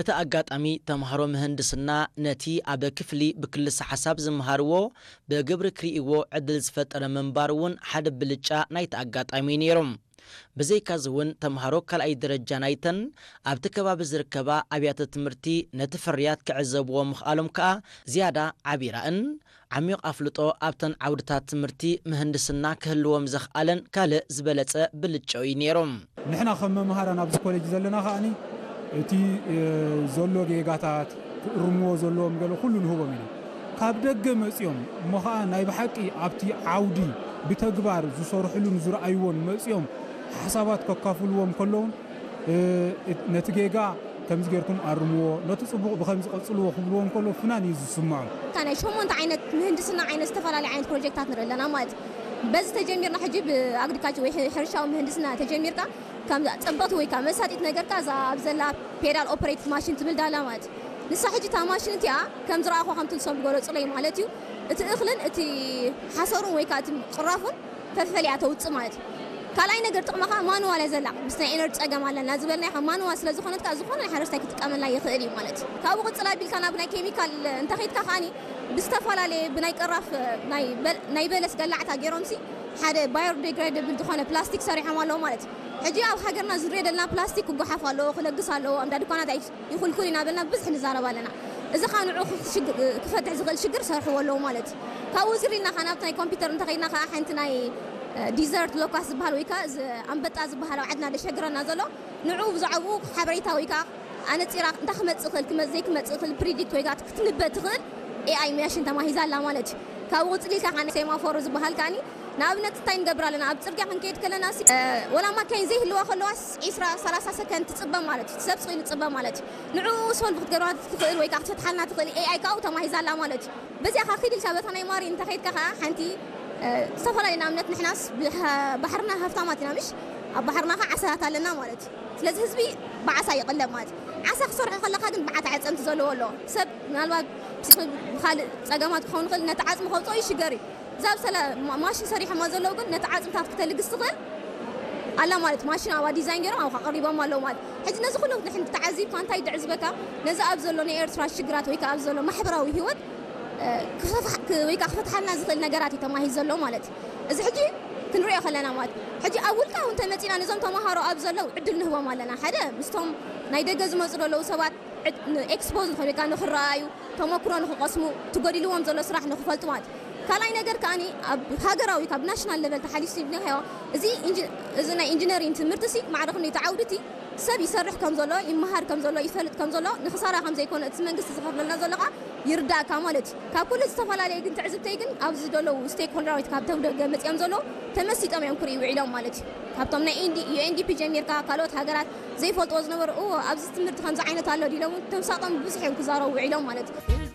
እቲ ኣጋጣሚ ተምሃሮ ምህንድስና ነቲ ኣብ ክፍሊ ብክልሰ ሓሳብ ዝምሃርዎ ብግብሪ ክርእይዎ ዕድል ዝፈጠረ ምንባሩ እውን ሓደ ብልጫ ናይቲ ኣጋጣሚ እዩ ነይሩ። ብዘይካዚ እውን ተምሃሮ ካልኣይ ደረጃ ናይተን ኣብቲ ከባቢ ዝርከባ ኣብያተ ትምህርቲ ነቲ ፍርያት ክዕዘብዎ ምኽኣሎም ከኣ ዝያዳ ዓቢ ራእን ዓሚቕ ኣፍልጦ ኣብተን ዓውድታት ትምህርቲ ምህንድስና ክህልዎም ዘኽኣለን ካልእ ዝበለጸ ብልጫ እዩ ነይሩ። ንሕና ከም መምሃራን ኣብዚ ኮሌጅ ዘለና ከኣኒ እቲ ዘሎ ጌጋታት ክእርምዎ ዘለዎም ገለ ኩሉ ንህቦም ኢና። ካብ ደገ መጺኦም እሞ ኸኣ ናይ ብሓቂ ኣብቲ ዓውዲ ብተግባር ዝሰርሕሉን ዝረኣይዎን መጺኦም ሓሳባት ከካፍልዎም ከለውን ነቲ ጌጋ ከምዚ ጌርኩም ኣርምዎ፣ ነቲ ጽቡቕ ብኸምዚ ቀጽልዎ ክብልዎም ከሎ ፍናን እዩ ዝስምዖም። እታ ናይ ሸሞንተ ዓይነት ምህንድስና ዓይነት ዝተፈላለየ ዓይነት ፕሮጀክታት ንርኢ ኣለና ማለት እዩ። በዚ ተጀሚርና ሕጂ ብኣግሪካልቸር ወይ ሕርሻዊ ምህንድስና ተጀሚርካ ከም ጸበቕቲ ወይ ከዓ መሳጢት ነገርካ እዛ ኣብ ዘላ ፔዳል ኦፐሬትድ ማሽን ትብል ዳላ ማለት እዩ። ንሳ ሕጂ እታ ማሽን እቲኣ ከም ዝረኣኹ ከምቲ ንሶም ዝገለጹለይ ማለት እዩ። እቲ እኽልን እቲ ሓሰሩን ወይ ከዓ እቲ ቅራፉን ፈፈለያ ተውፅእ ማለት እዩ። ካልኣይ ነገር ጥቕማ ከዓ ማንዋል እያ ዘላ። ምስ ናይ ኤነርጂ ፀገም ኣለና ዝበልናዮ ከዓ ማንዋል ስለ ዝኾነት ከዓ ዝኾነ ናይ ሓረስታይ ክጥቀመላ ይኽእል እዩ ማለት እዩ። ካብኡ ቅፅል ኣቢልካ ናብ ናይ ኬሚካል እንተኸይድካ ከዓኒ ብዝተፈላለየ ብናይ ቅራፍ ናይ በል- ናይ በለስ ገላዕታ ገይሮምሲ ሓደ ባዮዲግራደብል ዝኾነ ፕላስቲክ ሰሪሖም ኣለዉ ማለት እዩ። ሕጂ ኣብ ሃገርና ዝሪኦ ዘለና ፕላስቲክ ክጓሓፍ ኣለዎ፣ ክለግስ ኣለዎ፣ እንዳ ድኳናት ኣይ- ይኹልኩል ኢና በልና ብዙሕ ንዛረብ ኣለና። እዚ ኸኣ ንዑ ክፍትሕ ዝኽእል ሽግር ሰርሕዎ ኣለዉ ማለት እዩ። ካብኡ ዝሪልና ኸኣ ናብቲ ናይ ኮምፒውተር እንተኸይድና ኸኣ ሓንቲ ናይ ዲዘርት ሎካስ ዝበሃል ወይ ከዓ ኣንበጣ ዝበሃል ኣብ ዓድና ደሸግረና ዘሎ ንዑ ብዛዕባኡ ሓበሬታ ወይ ከዓ ኣነፂራ እንታይ ክመፅእ ይኽእል ክመ- ዘይክመፅእ ይኽእል ፕሪዲክት ወይ ከዓ ክትንበ ትኽእል ኤኣይ ማሽን ተማሂዛ ኣላ ማለት እዩ። ካብኡ ቅፅል ኢልካ ከዓ ሴማፎሮ ዝበሃል ከዓኒ ንኣብነት እንታይ ንገብር ኣለና ኣብ ፅርግያ ክንከይድ ከለና ሲ- ወላ ማካይን ዘይህልዋ ከለዋስ ዒስራ ሰላሳ ሰከንድ ትፅበ ማለት እዩ ሰብ ስቕ ኢሉ ትፅበ ማለት እዩ ንዕኡ ሶልቭ ክትገብራ ትኽእል ወይ ከዓ ክትፈትሓልና ትኽእል ኤኣይ ካብኡ ተማሂዛ ኣላ ማለት እዩ በዚኣ ከዓ ኪድ ኢልካ በታ ናይ ማሪ እንተኸይድካ ከዓ ሓንቲ ዝተፈላለዩ ንኣብነት ንሕናስ ባሕርና ሃፍታማት ኢና ምሽ ኣብ ባሕርና ከዓ ዓሳታት ኣለና ማለት እዩ ስለዚ ህዝቢ ብዓሳ ይቕለብ ማለት እዩ ዓሳ ክሰርሖ ከለካ ግን ብዓት ዓፀምቲ ዘለዎ ኣለዎ ሰብ ምናልባት ብኻልእ ፀገማት ክኸውን ይኽእል ነቲ ዓፅሚ ከውፅኦ ይሽገር እዩ እዛ ብሰለ ማሽን ሰሪሖማ ዘለዉ ግን ነቲ ዓፅምታት ክተልግስ ትኽእል ኣላ ማለት ማሽን ኣብኣ ዲዛይን ገይሮም ኣብካ ቀሪቦም ኣለዉ ማለት ሕጂ ነዚ ኩሉ ንሕን ተዓዚብካ እንታይ ድዕዝበካ ነዚ ኣብ ዘሎ ናይ ኤርትራ ሽግራት ወይ ከዓ ኣብ ዘሎ ማሕበራዊ ህይወት ወይ ከዓ ክፈትሓልና ዝኽእል ነገራት እዩ ተማሂዝ ዘሎ ማለት እዚ ሕጂ ክንሪኦ ከለና ማለት ሕጂ ኣብ ውልቃዊ እንተመፂና ነዞም ተምሃሮ ኣብ ዘለዉ ዕድል ንህቦም ኣለና ሓደ ምስቶም ናይ ደገ ዝመፁ ዘለዉ ሰባት ኤክስፖዝ ንኽብል ወይ ከዓ ንኽረኣዩ ተመክሮ ንኽቐስሙ እቲ ጎዲልዎም ዘሎ ስራሕ ንኽፈልጡ ማለት እዩ ካልኣይ ነገር ከዓኒ ኣብ ሃገራዊ ካብ ናሽናል ለቨል ተሓሊሱ ይብልናዮ እዚ እዚ ናይ ኢንጂነሪንግ ትምህርቲ ሲ ማዕረ ክንደይ ተዓውድቲ ሰብ ይሰርሕ ከም ዘሎ ይመሃር ከም ዘሎ ይፈልጥ ከም ዘሎ ንኽሳራ ከም ዘይኮነ እቲ መንግስቲ ዝኸፍለልና ዘሎ ከዓ ይርዳእካ ማለት እዩ ካብ ኩሉ ዝተፈላለየ ግን ትዕዝብተይ ግን ኣብዚ ዘለዉ ስቴክ ሆልደራዊት ካብ ተብደገ መፅኦም ዘለዉ ተመሲጦም እዮም ክርእዩ ውዒሎም ማለት እዩ ካብቶም ናይ ዩኤንዲፒ ጀሚርካ ካልኦት ሃገራት ዘይፈልጥዎ ዝነበሩ እዎ ኣብዚ ትምህርቲ ከምዚ ዓይነት ኣሎ ዲሎም እውን ተምሳጦም ብዙሕ እዮም ክዛረቡ ውዒሎም ማለት እዩ